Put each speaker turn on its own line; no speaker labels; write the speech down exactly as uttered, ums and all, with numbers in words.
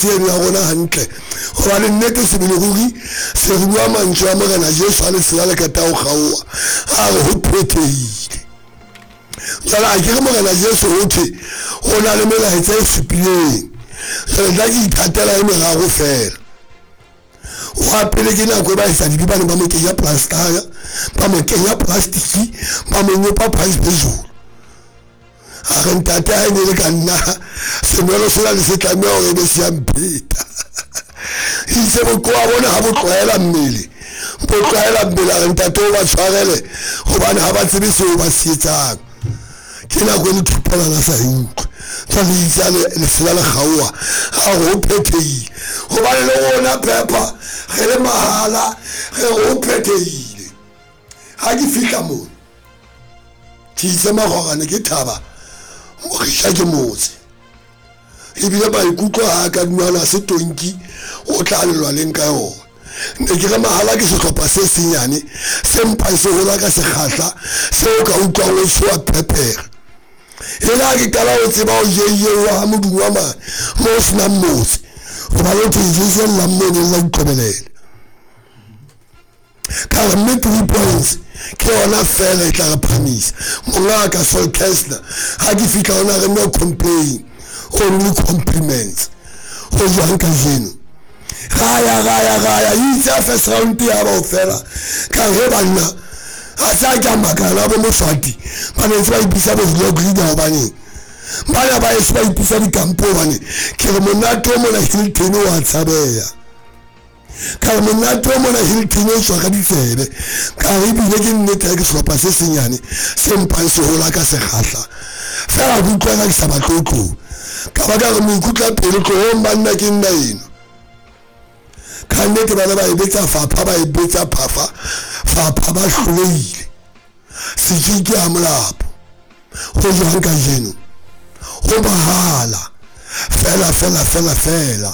conference eno ya rona hantle gobane nnete sebele ruri se re bua mantswe a Morena Jesu a lesela le qeta ho kgaoha, a re ho phethehile. Jwale a ke re Morena Jesu ho thwe ho na le melaetsa e supileng, jwale nna ke ithatela e meraro fela. Wa pele ke nako e ba etsa dibe ba ne ba mo kenya plastara, ba mo kenya plastiki, ba mo nyopa price phezulu. A re ntate ha e ne le ka nna senwelo sena le se tlameha hore e be se ya mpheta. Itse bokowa bona ha bo tlwaela mmele, bo tlwaela mmele. A re ntate o ba tshwarele hobane ha ba tsebe seo ba se etsang. Ke nako e le thupelana sa e utlwe. Jwale itse ha lesela le kgaoha, a re ho phethehile. Hobane le rona Pepper re le mahala, re re ho phethehile. Ha ke fihla moo ke itse magorane ke thaba mogisha ke motse, ebile maikutlo ha a ka dumana se tonki o tla lelwaleng ka yona. Ne ke re mahala ke sehlopha se senyane se mpang se hola ka sekgahla seo ka utlwang o tshoha phephere. E le ha ke qala ho tseba ho jeyewa ha modumo wa mane mo ho senang motse, hobane ho thwe jesu llang mono la utlwebelele. Ka re mme three points ke yona fela e tla re phahamisa. Mongaka Sol Kessler ha ke fihla hona re no complain, only compliments. Ho jwang kajeno? Ra ya ra ya ra ya itse ha first round ya ba ho fela. Ka re banna ha sa ke a makala bo Moswati ba ne ntse ba ipitsa bo vlog leader hobaneng bana ba eso ba ipitsa dikampo hobane ke re monate o mona Hilton wa tshabeha. Ka re monate o mona Hilton o tswa ka ditsebe. Ka re ebile ke nnete ha ke sehlopha se senyane se mpang se hola ka sekgahla fela, ke utlwa ka ke sa batle ho tloha. Ka ba ka re moikutla pelo tlohong banna ke nna eno. Ka nnete bana ba e betsa fapha, ba e betsa phafa fapha, ba hlolehile. Setjing ke ha molapo. Ho jwang kajeno? Ho mahala fela fela fela fela.